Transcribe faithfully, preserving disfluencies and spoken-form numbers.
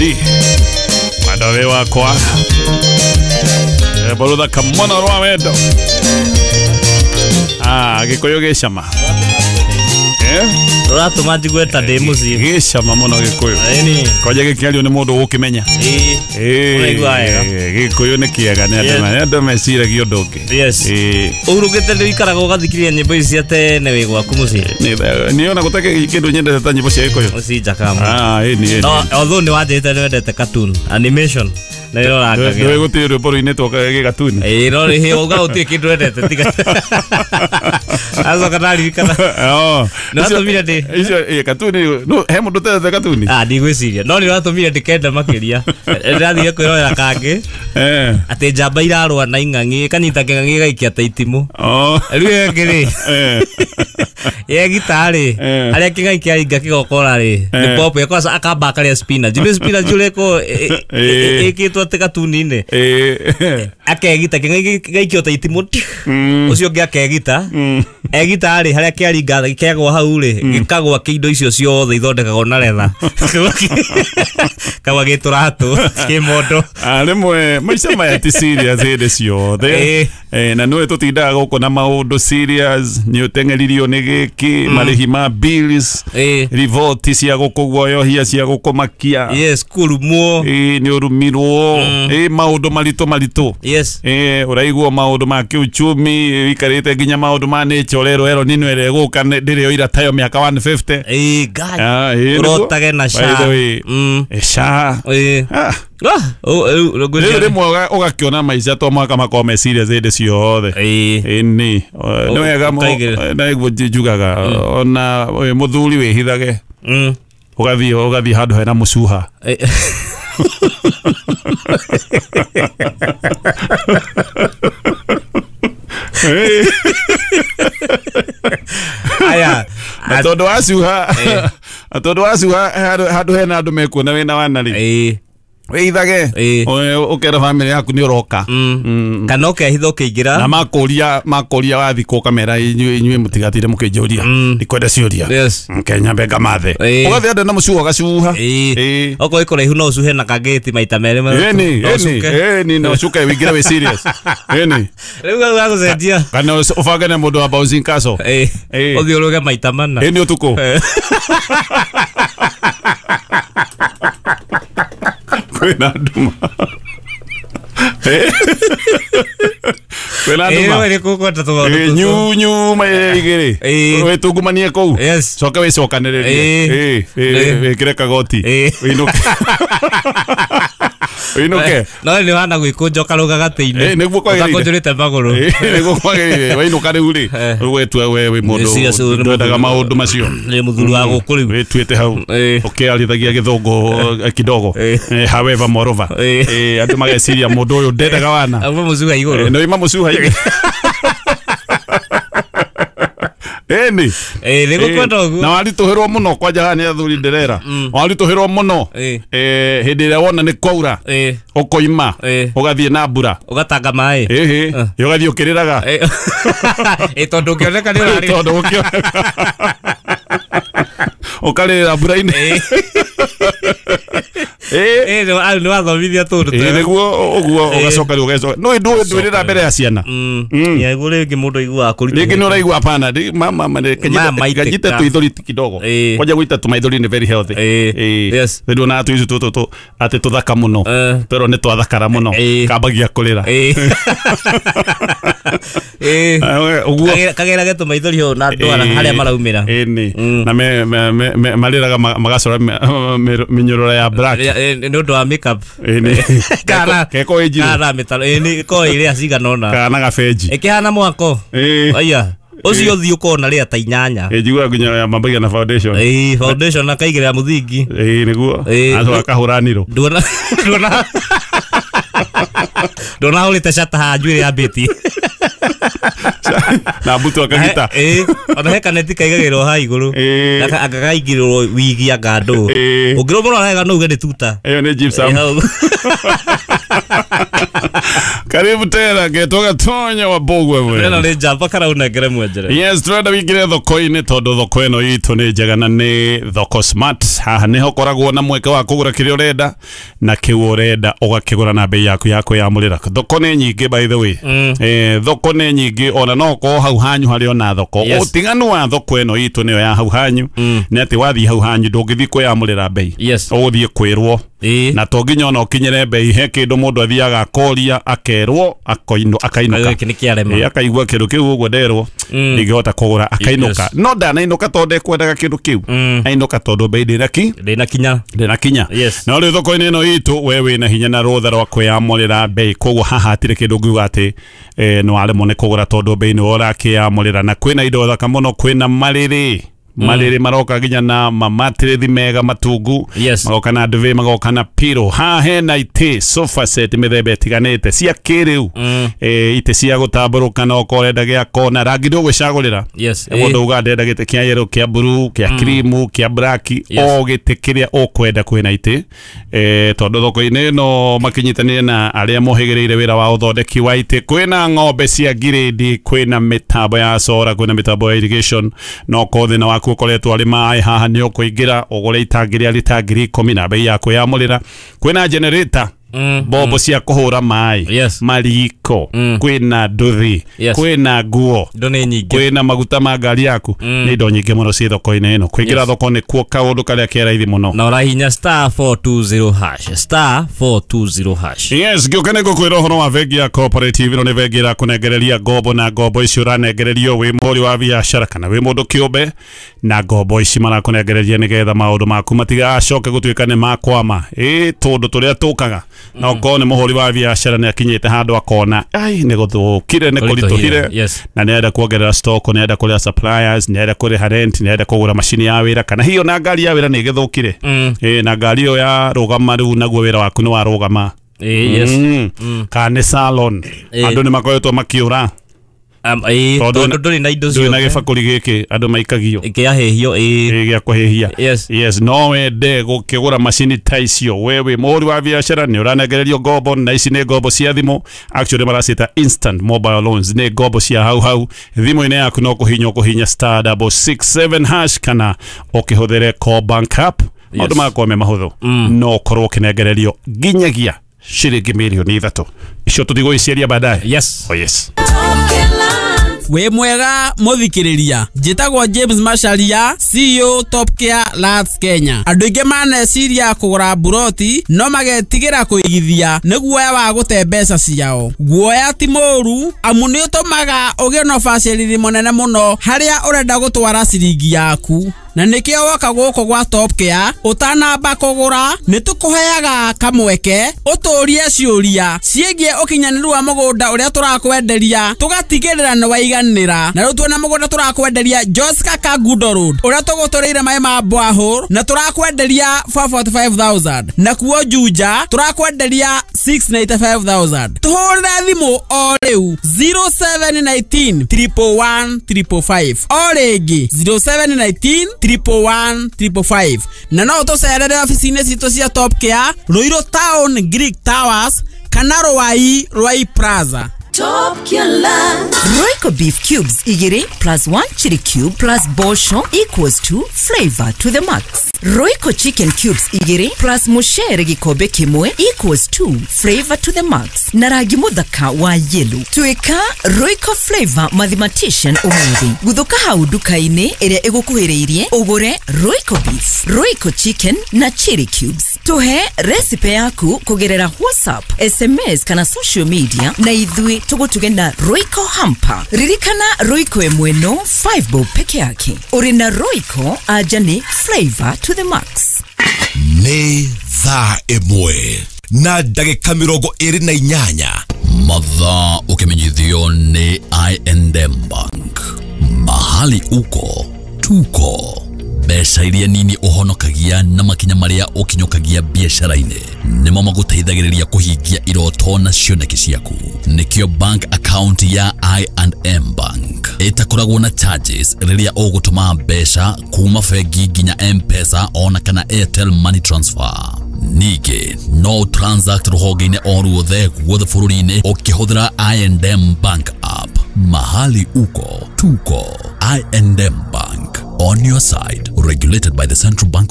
Mwendwa wakwa Rwĩmbo mũno rwa wendo. Ah, Gĩkũyũ gĩcama. Eh? Rũratũma njigue ta ndĩ mũciĩ. Gĩcama mũno Gĩkũyũ. Ĩni. Kwanja gĩkĩario nĩ mũndũ ũgũkĩmenya. Ĩĩ. Ũraigua wega. Gĩkũyũ nĩ kĩega nĩ andũ andũ meciragia ũndũ ũngĩ. Yes. Ĩĩ. Ũhurũkĩte nĩ ũikaraga ũgathikĩrĩria nyĩmbo ici cia tene wĩ gwaku mũciĩ. Nĩ ona gũtarĩ kĩndũ nyendete ta nyĩmbo cia Gĩkũyũ. Ũci njakaga mũno. Ah, ĩni ĩni. No, although nĩ wanjĩrĩte nĩ wendete cartoon, animation. Na ĩrorangagĩra. Ndũĩ gũtirĩ rwĩmbo rũinĩtwo gĩgatuni. Ĩĩ no rĩ uga gũtirĩ kĩndũ wendete tiga. Acoka ndaririkana. Oh. Nĩ watũmire ndĩ. Icio ĩ katuni no he mũndũ ũtendete katuni. Ah, ndigwĩciria. No nĩ watũmire ndĩkenda makĩria. Ndĩrathire kwĩrorera kangĩ. Eh. Atĩ njamba irarũa na ing'ang'i, ĩkanyita kĩng'ang'i ĩgaikia ta itimũ. Oh. Rĩu ĩyo ĩngĩ rĩ. Eh. Yegita rĩ, harĩa kĩng'ang'i kĩaringa kĩgokora rĩ, nĩ pop ĩkosa akamba akarĩa spinach. Nĩ spinach ũrĩa ĩkĩtwo atĩ katuni-inĩ. Eh. Akegita kĩng'ang'i gĩgaikio ta itimũ. Ũcio ũngĩ akegita. Egita rĩ, harĩa kĩaringa kĩagwa hau rĩ, gĩkagwa kĩindo icio ciothe ithondekagwo na retha. Kagwa gĩtũratũ, kĩmondo. Ah, rĩmwe maica maya ti serious hĩndĩ ciothe. Eh, na nĩwe tũtindaga gũkũ na maũndũ serious, nĩ ũteng'eririo nĩ gĩkĩ, marĩhi ma bills, riboti cia gũkũguoyohia cia gũkũmakia. Yes, kũrumwo. Ĩĩ nĩ ũrumirwo. Ĩĩ maũndũ maritũ maritũ. Yes. Ĩĩ ũraigua maũndũ ma kĩuchumi, ũikarĩte nginya maũndũ ma nature ũrerwo ero nino ĩrĩa ĩgũka ndĩrĩ yoira tayo mĩaka one fifty. Ĩĩ Ngai. Ũrotage na SHA. Ĩĩ SHA. Ĩĩ. Ah. Ah, rĩu rĩmwe ũgakĩona maica to mũhaka makorwo me serious hĩndĩ ciothe. Ĩĩ. Ĩni. Nĩ wega nĩguo njugaga ona mũthuri wĩhithage. Ũgathiĩ ũgathiĩ handũ hena mũcuha. Aya, na tondũ wacuha, na tondũ wacuha handũ hena andũ mekuona wĩna wana rĩ. Ĩĩ. Wĩhithage ũkera bamĩrĩ yaku nĩ ũroka. Kana ũkehitha ũkĩingĩra. Na makũria makũria wathiĩ kũ ũkamera inyuĩ inyuĩ mũtigatinde mũkĩnjũria. Ndikwenda ciũria. Yes. Nyambe ngamathe. Ũgathiĩ andũ na mũcuha ũgacuha. Ĩĩ. Okorwo ĩ kũraihu no ũcuhe na kangĩti maita merĩ. Ĩni ĩni ĩni no ũcuke wĩingĩre wĩ serious. Ĩni. Rĩu hau gagũcenjia. Kana ũbange na mũndũ wa bouncing castle. Ĩĩ. Ũthiĩ ũrũge maita mana. Ĩni ũtukũ. Kwĩna nduma. Kwĩna nduma. Ĩĩ nĩ tũmaũndũ tũtũ. Nyu nyu igĩrĩ. Wĩtungumanie kũu. Yes. Coke wĩcokanĩrĩrie. Ĩĩ. Ĩĩ wĩkĩre kagoti. Wĩinũke. Wĩinũke. No nĩ wana gwĩkũnja ũkarũga gatĩ-inĩ. Ĩĩ nĩguo kwagĩrĩire. Ũtakũnjũrĩte magũrũ. Ĩĩ nĩguo kwagĩrĩire. Wainũka rĩu rĩ. Rĩu wetua we wĩ mũndũ ndwendaga maũndũ macio. Nĩ mũthuri wa gũkũ rĩu. Wĩtuĩte hau. Ũkĩarithagia gĩthũngũ kidogo. However moreover. Ĩĩ andũ mageciria mũndũ ũyũ ndendaga wana. Auma mũcuha igũrũ. Nĩ oima mũcuha igũrũ. Ĩni. Ĩĩ nĩgũkwenda ũguo. Na waritũhĩrwo mũno kwanja haha nĩ athuri ndĩrera. Waritũhĩrwo mũno. Eh hĩndĩ ĩrĩa wona nĩ kwaura. Ũkoima. Ũgathiĩ na mbura. Ũgatanga maĩ. Ĩhĩ. Ũgathiĩ ũkĩrĩraga. Ĩĩ tondũ ũkĩoneka nĩ ũrarĩra. Tondũ ũkĩoneka. Ũkarĩrĩra mbura-inĩ. Ĩĩ nĩ wathomithia tũndũ twega. Ĩĩ nĩguo ũguo ũgacoka rĩu ũgecoka. No ndwĩrĩra mbere ya ciana. Nĩguo rĩngĩ mũndũ aiguaga kũritũhĩte. Rĩngĩ nĩ ũraigua hapana mama kanyite tũithori kidogo. Kwanja gũita tũmaithori nĩ very healthy. Ĩĩ. Yes. Rĩu ona tũicu tũtũ atĩ tũthaka mũno. Twerwo nĩ twathakara mũno. Kambagia kũrĩra. Ĩĩ. Ũguo kagerage tũmaithori hau na andũ harĩa maraumĩra. Ĩni. Na marĩraga magacora mĩnyororo ya black. Nĩ ũndũ wa makeup. Kana keko ĩnjirũ. Kana mĩtaro ĩni ko ĩrĩa cigana ũna. Kana gabenji. Ĩkĩhana mwako. Aya. Ũcio ũthiĩ ũkona rĩa ta inyanya. Ĩ njiguaga nginya mambagia na foundation. Ĩĩ foundation akaigĩrĩra mũthingi. Ĩĩ nĩguo. Acoka akahũra niro. Nduona nduona nduona hũrĩte shata haha njuĩrĩ yambĩtie. Na mbutu akagita. Ĩĩ ona he kaneti kaigagĩrwo haha igũrũ. Agakaigĩrĩrwo wigi anga ndũ. Ũngĩrũmũrora wega no uge nĩ tuta. Ĩyo nĩ gypsum. Karibu tena getwo Gatonya wa Bogwe we. Ĩno nĩ njamba karaunengere mwenjere. Yes, turenda wingire thoko-inĩ tondũ thoko ĩno itũ nĩ njega na nĩ thoko smart. Haha nĩho koragwo na mweke wa kũgũra kĩrĩa ũrenda na kĩu ũrenda ũgakĩgũra na bei yaku ya kwĩyamũrĩra. Thoko nĩ nyingĩ by the way. Mm. Eh, thoko nĩ nyingĩ ona no ũkorwo hau hanyu harĩ ona thoko. Yes. Ũtiganu wa thoko ĩno itũ nĩyo ya hau hanyu Mm. nĩ atĩ wathiĩ hau hanyu ndũngĩthiĩ kwĩyamũrĩra bei. Yes. Ũgũthiĩ kwĩrwo Ĩĩ. na to nginya ona ũkinyĩre bei he kĩndũ mũndũ athiaga akoria akerwo akoino akainũka. Gĩkĩ nĩ kĩarema. Ĩ, akaigua kĩndũ kĩu ũguo nderwo Mm. ndingĩhota kũgũra akainũka. Yes. No ndanainũka tondũ ndekwendaga kĩndũ kĩu. Mm. Ainũka tondũ bei ndĩnaki Ndĩnakinya. ndĩnakinya. Yes. No rĩu thoko-inĩ ĩno itũ we wĩna hinya na rũtha rwa kwĩyamũrĩra bei koguo haha hatirĩ kĩndũ ũngiuga atĩ eh, nĩ waremwo nĩ kũgũra tondũ bei nĩwe ũrakĩyamũrĩra. Na kwĩna indo thaka mũno, kwĩna marĩrĩ marĩrĩ maroka nginya na mamatĩrĩthi mega matungu. Yes. Magoka na duvet, magoka na pillow. Haha hena itĩ sofa set mĩthemba ĩtiganĩte cia kĩrĩu. Mm. Eh, itĩ cia gũtambũrũka na okorwo ũrenda gĩa kona rangi ndũgwĩcagũrĩra. Yes. Mũndũ uga ndenda gĩtĩ kĩa yellow, kĩa blue, kĩa cream, kĩa black, Yes. o gĩtĩ kĩrĩa ũkwenda kwĩna itĩ. Eh, tondũ thoko-inĩ ĩno makinyitanĩire na arĩa mohĩgĩrĩire wĩra wa ũthondeki wa itĩ. Kwĩna ng'ombe cia ngirĩndi, kwĩna mĩtambo ya solar, kwĩna mĩtambo ya irrigation. No okorwo thĩna waku ũkoretwo arĩ maĩ haha nĩ ũkũingĩra ũgũre itangi rĩa rita ngiri ikũmi na bei ya kwĩyamũrĩra. Kwĩna generator, Mm. mbombo cia kũhũra maĩ, Yes. mariko, Mm. kwĩna nduthi, Yes. kwĩna nguo, Indo nĩ nyingĩ. kwĩna maguta ma ngari yaku. Mm. Nĩ indo nyingĩ mũno ciĩ thoko-inĩ ĩno. Kũingĩra Yes. thoko nĩ kuo kaũndũ karĩa ke raithi mũno. Na ũrahihinya star four two zero hash. Star four two zero hash. Yes, ngĩũka nĩ ngũkwĩra ũhoro wa bengi ya Cooperative. Ĩno nĩ bengi ĩrakũnengereria ngombo na ngombo ici ũranengererio wĩ mũhũri wa biacara kana wĩ mũndũ kĩũmbe, na ngombo ici marakũnengereria nĩgetha maũndũ maku matigacoke gũtuĩka nĩ makwama. Ĩ tũndũ tũrĩa tũkaga na okorwo nĩ mũhũri wa biacara nĩ akinyĩte handũ akona ai nĩ gũthũkire nĩ kũritũhire Yes. na nĩ kuongerera stock, nĩ arenda kũrĩha suppliers, nĩ arenda kũrĩha rent, nĩ arenda kũgũra macini ya wĩra kana hiyo na ngari ya wĩra nĩ ĩgĩthũkire. Mm. Ĩ na ngari ĩyo ya rũgama rĩu naguo wĩra waku nĩ warũgama. Ĩĩ, yes. Mm. Kana nĩ salon. Ĩ. Andũ nĩ makoretwo makĩũra Um, ĩĩ, Tondũ tondũ ndũrĩ na indo ndũrĩ na ciothe. gĩbakũri gĩkĩ andũ maikagio Kĩahĩhio, ĩĩ. Ĩ, gĩa kũhĩhia. Yes. Yes, no wende gũkĩgũra macini ta icio we wĩ mũhũri wa biacara nĩ ũranengererio ngombo na ici nĩ ngombo cia thimũ. Actually maracita instant mobile loans, nĩ ngombo cia hau hau thimũ-inĩ yaku no kũhinya ũkũhinya star double six seven hash kana ũkĩhũthĩre Co-Bank app. Maũndũ magakorwo me mahũthũ. No ũkorwo ũkĩnengererio nginyagia ciringi mirioni ithatũ. Icio tũtigũgĩciaria baadaye. Yes. Oh yes. Wĩ mwega mũthikĩrĩria, njĩtagwo James Macharia, C E O Top Care Lands Kenya. Andũ aingĩ maneciria kũgũra mburoti no magetigĩra kũigithia nĩ guoya wa gũte mbeca ciao. Guoya ti mũũru amu nĩ ũtũmaga ũgĩe na ũbacĩrĩri mũnene mũno harĩa ũrenda gũtwara ciringi yaku. Na nĩkĩo woka gũkũ gwa Top Care ũtanamba kũgũra nĩ tũkũheaga kamweke ũtũrie ciũria ciĩgiĩ ũkinyanĩru wa mũgũnda ũrĩa tũrakwenderia tũgatigĩrĩra nĩ waiganĩra. Na rĩu twĩna mũgũnda tũrakwenderia Joska Kangundo Road ũrĩa tũgũtũrĩire maĩ ma borehole na tũrakwenderia four forty five thousand, na kuo Juja tũrakwenderia six ninety five thousand. Tũhũrĩre thimũ o rĩu zero seven nineteen triple one triple five, o rĩngĩ zero seven nineteen triple one triple five. Na no ũtũcerere ofici-inĩ citũ cia Top Care Ruiru Town Greek Towers kana Ruai Ruai Plaza. Top Care Land. Royco beef cubes igiri plus one chili cube plus bosho equals to flavor to the max. Royco chicken cubes igiri plus mushere gikombe kimwe equals to flavor to the max. Na rangi muthaka wa yellow. Tuika Royco flavor mathematician umuthi. Guthuka hau nduka-inĩ ĩrĩa ĩgũkuhĩrĩirie ũgũre Royco beef, Royco chicken na chili cubes. Tuhe recipe yaku kũgerera WhatsApp, S M S kana social media na ithuĩ tũgũtuge na Royco hamper. Ririkana Royco ĩmwe no five bob peke yake. Ũrĩ na Royco anja nĩ flavor to the max. Nĩ thaa ĩmwe na ndagĩka mĩrongo ĩrĩ na inyanya. Mathaa ũkĩmenyithio nĩ I and M Bank. Mahali uko tuko. Mbeca iria nini ũhonokagia na makinya marĩa ũkinyũkagia biacara-inĩ nĩmo magũteithagĩrĩria kũhingia iroto na cioneki ciaku. Nĩkĩo bank account ya I and M Bank ĩtakoragwo na charges rĩrĩa ũgũtũma mbeca kuma bengi nginya M-Pesa ona kana Airtel Money Transfer. Ningĩ no transact rũhonge-inĩ o ruothe guothe bũrũri-inĩ ũkĩhũthĩra I and M Bank app. Mahali uko tuko. I and M Bank, on your side, regulated by the Central Bank.